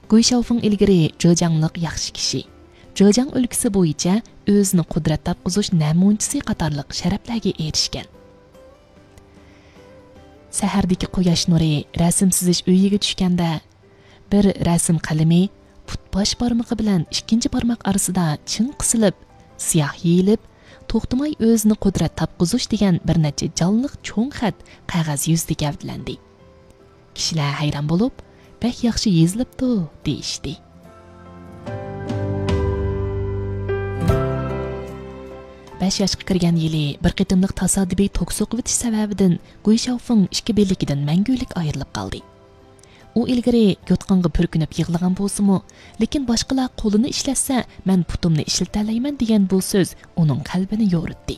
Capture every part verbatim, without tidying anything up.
گۇي شياۋفېڭ ئىلگىرى جېجياڭلىق ياخشى كىشى، جېجياڭ ئۆلكىسى بويىچە ئۆزىنى قۇدرەت تاپقۇزۇش نەمۇنىچىسى قاتارلىق شەرەپلەرگە ئېرىشكەن. سەھەردىكى قۇياش نۇرى رەسىم سىزىش ئۆيىگە چۈشكەندە، بىر رەسىم قەلىمى پۇت باش بارمىقى بىلەن ئىككىنچى بارماق ئارىسىدا چىڭ قىسىلىپ، سىياھ يېيىلىپ، توختىماي ئۆزىنى قۇدرەت تاپقۇزۇش دېگەن بىر نەچچە جانلىق چوڭ خەت قەغەز يۈزىدە گەۋدىلەندى. كىشىلەر ھەيران بولۇپ، «بەك ياخشى يېزىلىپتۇ» دېيىشتى. بەش ياشقا كىرگەن يىلى بىر قېتىملىق تاسادىپىي توك سوقۇۋېتىش سەۋەبىدىن گۇي شياۋفېڭ ئىككى بىلىكىدىن مەڭگۈلۈك ئايرىلىپ قالدى. ئۇ ئىلگىرى يوتقانغا پۈركۈنۈپ يىغلىغان بولسىمۇ، لېكىن باشقىلار قولىنى ئىشلەتسە، مەن پۇتۇمنى ئىشلىتەلەيمەن دېگەن بۇ سۆز ئۇنىڭ قەلبىنى يورۇتتى.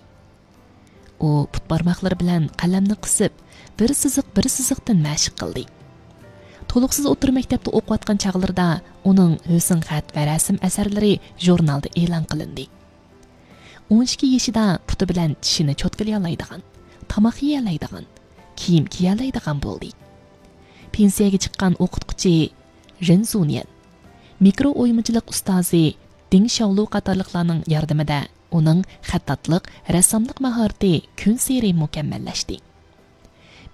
ئۇ پۇت بارماقلىرى بىلەن قەلەمنى قىسىپ، بىر سىزىق، بىر سىزىقتىن مەشىق قىلدى. تولۇقسىز ئوتتۇرا مەكتەپتە ئوقۇۋاتقان چاغلىرىدا ئۇنىڭ ھۆسن خەت ۋە رەسىم ئەسەرلىرى ژۇرنالدا ئېلان قىلىندى. ئون ئىككى يېشىدا پۇتى بىلەن چىشىنى چوتكىلىيالايدىغان، تاماق يېيەلەيدىغان، كىيىم كىيەلەيدىغان بولدى. پېنسىيەگە چىققان ئوقۇتقۇچى رېن زۇنيەن، مىكرو ئويمىچىلىق ئۇستازى دىڭ شياۋلۇ قاتارلىقلارنىڭ ياردىمىدە ئۇنىڭ خەتتاتلىق، رەسساملىق ماھارىتى كۈنسېرى مۇكەممەللەشتى.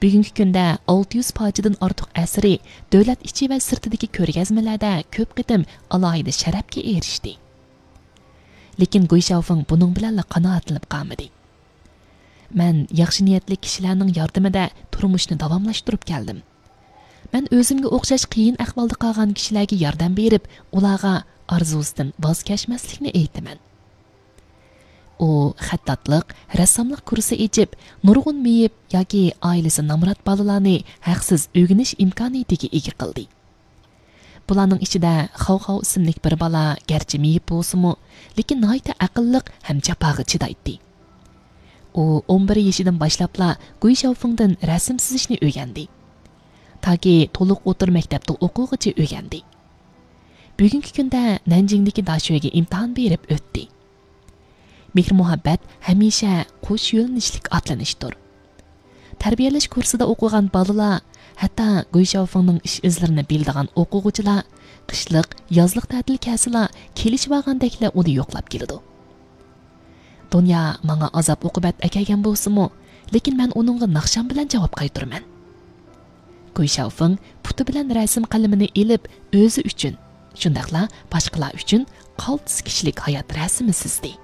بۈگۈنكى كۈندە ئالتە يۈز پارچىدىن ئارتۇق ئەسىرى دۆلەت ئىچى ۋە سىرتىدىكى كۆرگەزمىلەردە كۆپ قېتىم ئالاھىدە شەرەپكە ئېرىشتى. لېكىن گۇي شياۋفېڭ بۇنىڭ بىلەنلا قانائەتلىنىپ قالمىدى. «مەن ياخشى نىيەتلىك كىشىلەرنىڭ ياردىمىدە تۇرمۇشنى داۋاملاشتۇرۇپ كەلدىم. مەن ئۆزۈمگە ئوخشاش قىيىن ئەھۋالدا قالغان كىشىلەرگە ياردەم بېرىپ، ئۇلارغا ئارزۇسىدىن ۋاز كەچمەسلىكنى ئېيتىمەن.» ئۇ خەتتاتلىق، رەسساملىق كۇرسى ئېچىپ، نۇرغۇن مېيىپ ياكى ئائىلىسى نامرات بالىلارنى ھەقسىز ئۆگىنىش ئىمكانىيىتىگە ئىگە قىلدى. بۇلارنىڭ ئىچىدە خاۋخاۋ ئىسىملىك بىر بالا گەرچە مېيىپ بولسىمۇ، لېكىن ناھايىتى ئەقىللىق ھەم جاپاغا چىدايتتى. ئۇ ئون بىر يېشىدىن باشلاپلا گۇي شياۋفېڭدىن رەسىم سىزىشنى ئۆگەندى. تاكى تولۇق ئوتتۇرا مەكتەپتە ئوقۇغۇچە ئۆگەندى. بۈگۈنكى كۈندە نەنجىڭدىكى داشۆگە ئىمتىھان بېرىپ ئۆتتى. مېھىر-مۇھەببەت ھەمىشە قوش يۆنىلىشلىك ئاتلىنىشتۇر. تەربىيەلەش كۇرسىدا ئوقۇغان بالىلار، ھەتتا گۇي شياۋفېڭنىڭ ئىش-ئىزلىرىنى بىلىدىغان ئوقۇغۇچىلار قىشلىق، يازلىق تەتىل كەلسىلا، كېلىشىۋالغاندەكلا ئۇنى يوقلاپ كېلىدۇ. دۇنيا ماڭا ئازاب-ئوقۇبەت ئەكەلگەن بولسىمۇ، لېكىن مەن ئۇنىڭغا ناخشام بىلەن جاۋاب قايتۇرىمەن. گۇي شياۋفېڭ پۇتى بىلەن رەسىم قەلىمىنى ئېلىپ، ئۆزى ئۈچۈن، شۇنداقلا باشقىلار ئۈچۈن قالتىس كىشىلىك ھايات رەسىمى سىزدى.